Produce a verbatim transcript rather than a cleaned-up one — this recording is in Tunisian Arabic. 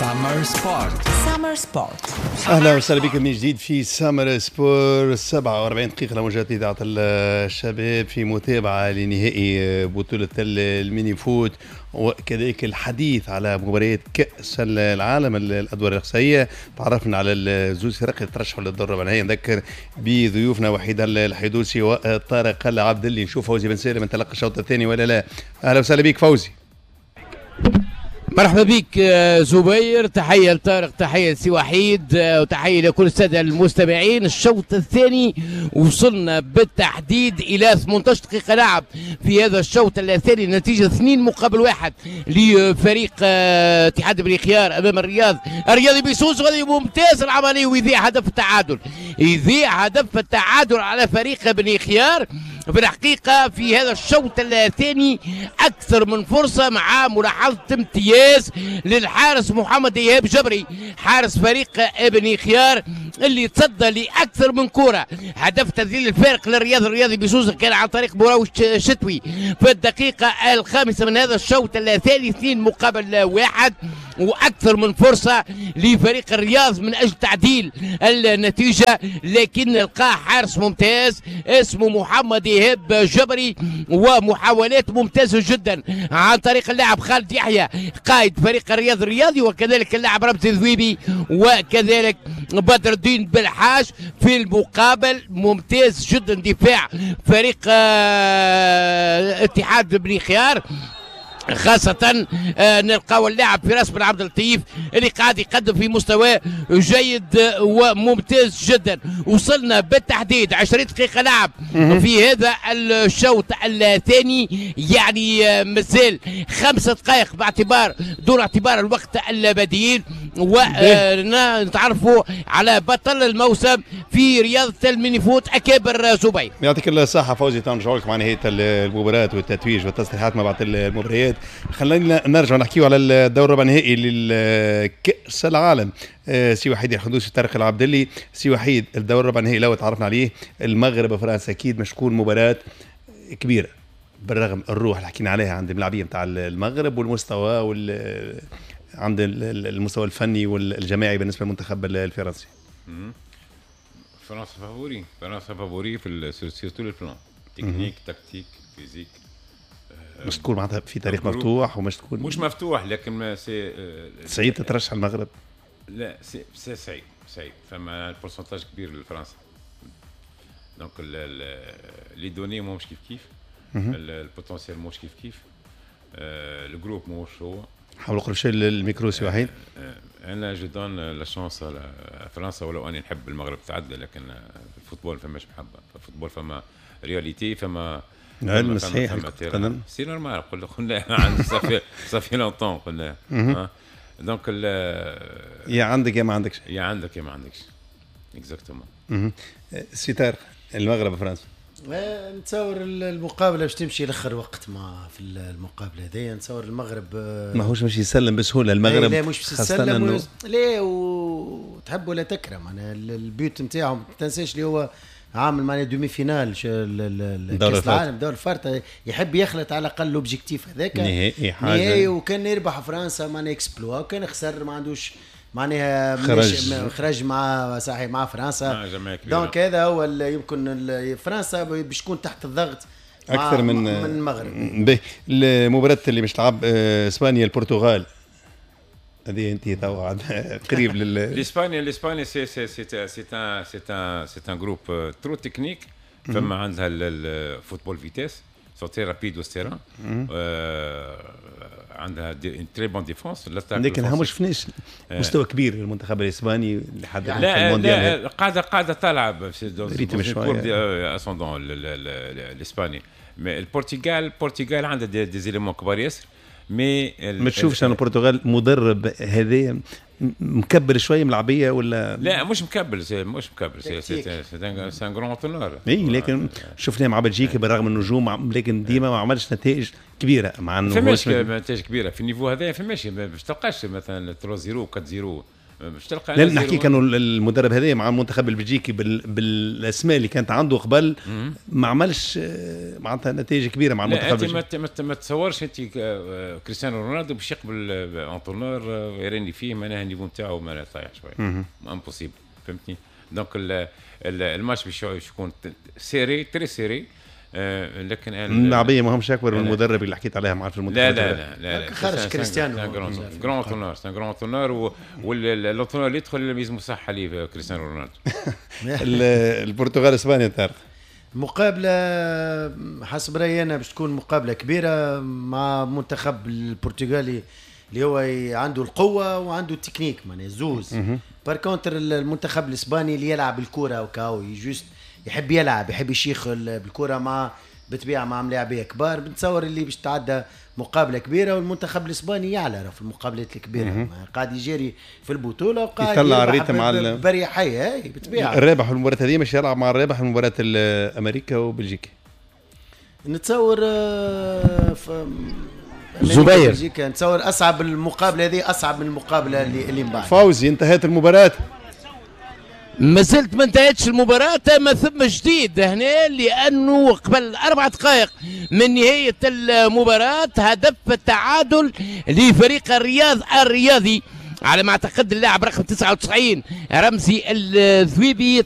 Summer Sport. Summer Sport. اهلا وسهلا بكم من جديد في Summer Sport، سبعة وأربعين دقيقة لموجات اذاعة الشباب، في متابعه لنهائي بطوله ال mini-foot وكذلك الحديث على مباريات كاس العالم الادوار الاقصائيه. تعرفنا على الزوز فرق اللي ترشحوا للدور الربع النهائي. نذكر بضيوفنا وحيد الحيدوسي وطارق العبدلي. نشوف فوزي بن سالم انطلق الشوط الثاني ولا لا؟ اهلا وسهلا بك فوزي. مرحبا بك آه، زبير، تحية لطارق، تحية لسي وحيد، آه، وتحية لكل السادة المستمعين. الشوط الثاني وصلنا بالتحديد إلى ثمنطاش دقيقة لعب في هذا الشوط الثاني، النتيجة اثنين مقابل واحد لفريق آه، اتحاد بني خيار أمام الرياض الرياضي بسوسة. وهذه ممتاز العملية ويضيع هدف التعادل، يضيع هدف التعادل على فريق بني خيار. في الحقيقة في هذا الشوط الثاني أكثر من فرصة، مع ملاحظة امتياز للحارس محمد إيهاب جبري، حارس فريق ابن خيار اللي تصدى لأكثر من كرة. هدف تذليل الفارق للرياض الرياضي بسوسة كان عن طريق براوش شتوي في الدقيقة الخامسة من هذا الشوط الثاني، اثنين مقابل واحد، واكثر من فرصة لفريق الرياض من اجل تعديل النتيجه، لكن لقاه حارس ممتاز اسمه محمد ايهاب جبري، ومحاولات ممتازة جدا عن طريق اللاعب خالد يحيى قائد فريق الرياض الرياضي، وكذلك اللاعب رمزي ذويبي، وكذلك بدر الدين بالحاج. في المقابل ممتاز جدا دفاع فريق آه، اتحاد بني خيار، خاصة آه، نلقاو اللاعب فراس بن عبد اللطيف اللي قاعد يقدم في مستوى جيد وممتاز جدا. وصلنا بالتحديد عشرين دقيقة لعب في هذا الشوط الثاني، يعني آه، مازال خمسة دقائق باعتبار دون اعتبار الوقت البديل، ونتعرفوا على بطل الموسم في رياضة ال mini-foot أكابر زبير. يعطيك الصحة فوزي، نرجع لك مع نهاية المباراة والتتويج والتصريحات ما بعد المباريات. خلينا نرجع نحكيو على الدور الربع النهائي لكأس العالم. آه، سي وحيد الحدوسي، طارق العبدلي. سي وحيد، الدور الربع النهائي لو تعرفنا عليه، المغرب وفرنسا، اكيد مش تكون مباراة كبيرة بالرغم الروح اللي حكينا عليها عند الملاعبيه نتاع المغرب والمستوى وال عند المستوى الفني والجماعي بالنسبة للمنتخب الفرنسي. فرنسا favori، فرنسا favori في sur tous les plans، technique، tactique، physique. مش تكون معناتها في طريق مفتوح ومش تكون مش مفتوح، لكن c'est صعيب تترشح المغرب. لا، c'est c'est صعيب صعيب، فما pourcentage كبير لفرنسا، donc les données ماهمش كيف كيف، ال potentiel ماهوش كيف كيف، ال groupe ماهوش هو. حاول قرب شوي الميكرو سي وحيد. انا je donne la chance فرنسا، ولو اني نحب المغرب تعدل، لكن في ال football فماش محبه، في ال football فما réalité، فما علم صحيح. c'est normal، قلنا قلنا ça fait ça fait longtemps قلنا donc. يا عندك يا ما عندكش. يا عندك يا ما عندكش، exactement. سي طارق، المغرب فرنسا. آه، نتصور المقابلة باش تمشي لاخر وقت ما في المقابلة هذيا نتصور المغرب آه، ماهوش باش يسلم بسهولة المغرب. لا، مش باش يسلم، لا، وتحب ولا تكره معناها ال but نتاعهم، ما تنساش اللي هو عامل معناها demi-finale كاس العالم دور الفارطه، يحب يخلط على الاقل l'objectif هذاك. نهائي حاجه. نهائي، وكان يربح فرنسا معناها exploit، وكان خسر ما عندوش معناها خرج. خرج مع صحيح مع فرنسا. donc هذا هو يمكن فرنسا باش تكون تحت الضغط اكثر من من المغرب. باهي، المباراة اللي باش تلعب آه، اسبانيا البرتغال، هذه انت توا قريب لل الاسبانيا الاسبانيا c'est c'est c'est c'est un c'est un c'est un groupe trop technique، فما عندها ال football vitesse، sont très rapides au terrain، عندها très bonne défense. لكن ما شفناش مستوى كبير للمنتخب الاسباني لحد لا لا، قاعده قاعده تلعب rythme شوية ascendant الاسباني. البرتغال البرتغال عندها des, des éléments كبار ياسر mais ما تشوفش ان البرتغال مدرب هذا مكبر شوية ملعبيه ولا؟ لا، مش مكبر، مش مكبر، c'est c'est un grand entraîneur. اي، لكن شفناه مع بلجيكا بالرغم من النجوم، لكن ديما ما عملش نتائج كبيرة مع انه فماش نتائج كبيرة في ال niveau هذا، فماش، باش تلقاش مثلا ثلاثة صفر أربعة صفر. باش تلقى لا نحكي كانوا المدرب هذا مع المنتخب البلجيكي بال... بالاسماء اللي كانت عنده قبل ما عملش آه، معناتها نتائج كبيرة مع المنتخب البلجيكي. ما, ما تصورش انت آه، كريستيانو رونالدو باش يقبل entraîneur يراني فيه معناها ال niveau نتاعو معناها طايح شوية، impossible، فهمتني؟ donc ال match باش يكون serré، très serré. آه لكن اللاعبيه ما همش اكبر من المدرب اللي حكيت عليها مع في المنتخب. لا لا لا لا، خرج كريستيانو. grand entraîneur، c'est un grand entraîneur، وال entraîneur اللي يدخل لازم صح عليه كريستيانو رونالدو. البرتغال اسبانيا طارق. مقابلة حسب رأيي أنا باش تكون مقابلة كبيرة مع منتخب البرتغالي اللي هو عنده القوة وعنده التكنيك، معناها زوز. par contre المنتخب الاسباني اللي يلعب الكرة وكاو، juste يحب يلعب، يحب يشيخ بالكرة، مع بالطبيعة مع ملاعبيه كبار. بنتصور اللي باش تعدى مقابله كبيره، والمنتخب الاسباني يعلى في المقابلات الكبيره، قاعد يجري في البطولة وقاعد يطلع ال rythme على بريحيه هاي بالطبيعه. الرابح في المباراة هذه مش يلعب مع الرابح في مباراة امريكا وبلجيكا. نتصور آه، زبير. نتصور اصعب المقابلة هذه، اصعب من المقابلة اللي اللي من بعد. فوزي، انتهت المباراة؟ ما زلت ما انتهتش المباراة، ما ثم جديد هنا، لأنه قبل أربع دقائق من نهاية المباراة هدف التعادل لفريق الرياض الرياضي، على ما اعتقد اللاعب رقم تسعة وتسعين رمزي الذويبي.